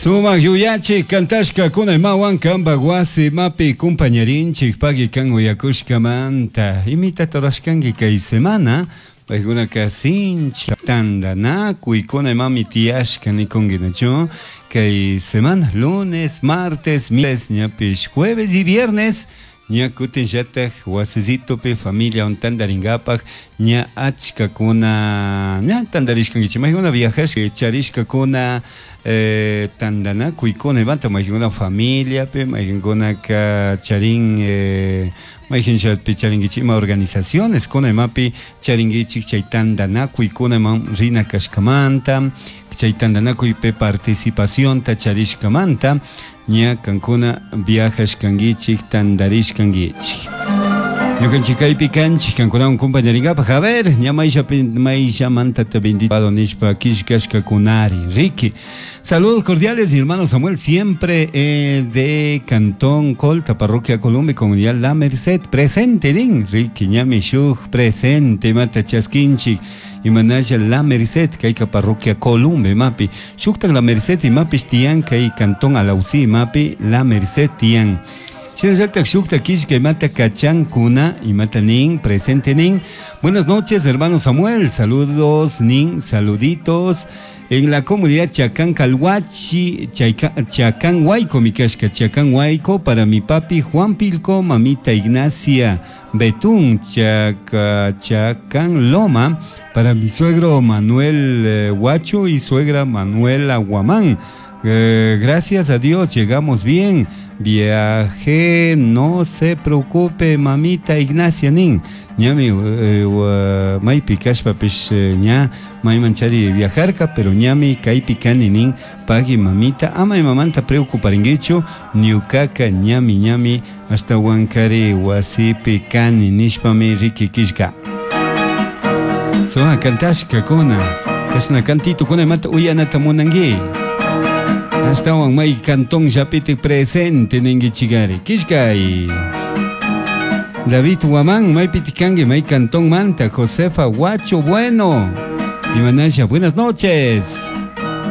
Sumak yuyachik kantashkakuna imawan kanpak wasi imapi kumpañarinchik pagui kan uyakushkamanta imitata rurashkanki kay semana paykunaka sinchi tantanakuykuna imami tiyashka nikunki kay semana lunes, martes, miércoles ñapish jueves y viernes ña kutinllatak wasisitupi familiawan tantarinkapak ña achkakuna ña tantarishkankichik maykuna viajashka charishkakuna eh, tantanakuykuna imata maykankuna familiapi maykankunaka charin eh, maykanllapi charinkichik ima organizaciones kuna imapi charinkichik chay tantanakuykuna iman rina kashkamanta chay tantanakuypi participacionta charishkamanta ña kankuna viajashkankichik tantarishkankichik ñukanchik kaypi kanchik kankunawan compañarinkapak a ver ña mayllapi mayllamanta bendito nishpa killkashkakunari Ricky saludos cordiales mi hermano Samuel siempre eh, de Cantón Colta parroquia Colombia comunidad La Merced presente nin Ricky ñami shuk presente mata chaskinchik imanalla La Merced kayka parroquia Columbe mapi shuktak La Merced imapish tiyan kay Cantón Alausí mapi La Merced tiyan Shinallatak shukta killka imata kachankuna imata nin presente nin buenas noches hermano Samuel saludos nin saluditos en la comunidad Chacán Calhuachi, Chacán Huayco, mi kashka, Chacán Huayco, para mi papi Juan Pilco, mamita Ignacia Betún, Chaca, Chacán Loma, para mi suegro Manuel eh, Huacho y suegra Manuela Guamán. Eh, gracias a Dios llegamos bien. Viajé, no se preocupe, mamita Ignacia nin. Ñami eh, maypi kashpapish ña mayman chari viajarka, pero ñami kaypi kani nin pagui mamita ama imamanta preocuparinkichu ñukaka ñami ñami ashtawankari wasipi kani nishpami riki killka. Sumak kantashkakuna kashna kantitukuna imata uyanata munanki ashtawan may canton llapitik presente ninkichikari killkay David Guamán, maypitik kanki, may cantón manta, Josefa Guacho Bueno. Imanasha, buenas noches.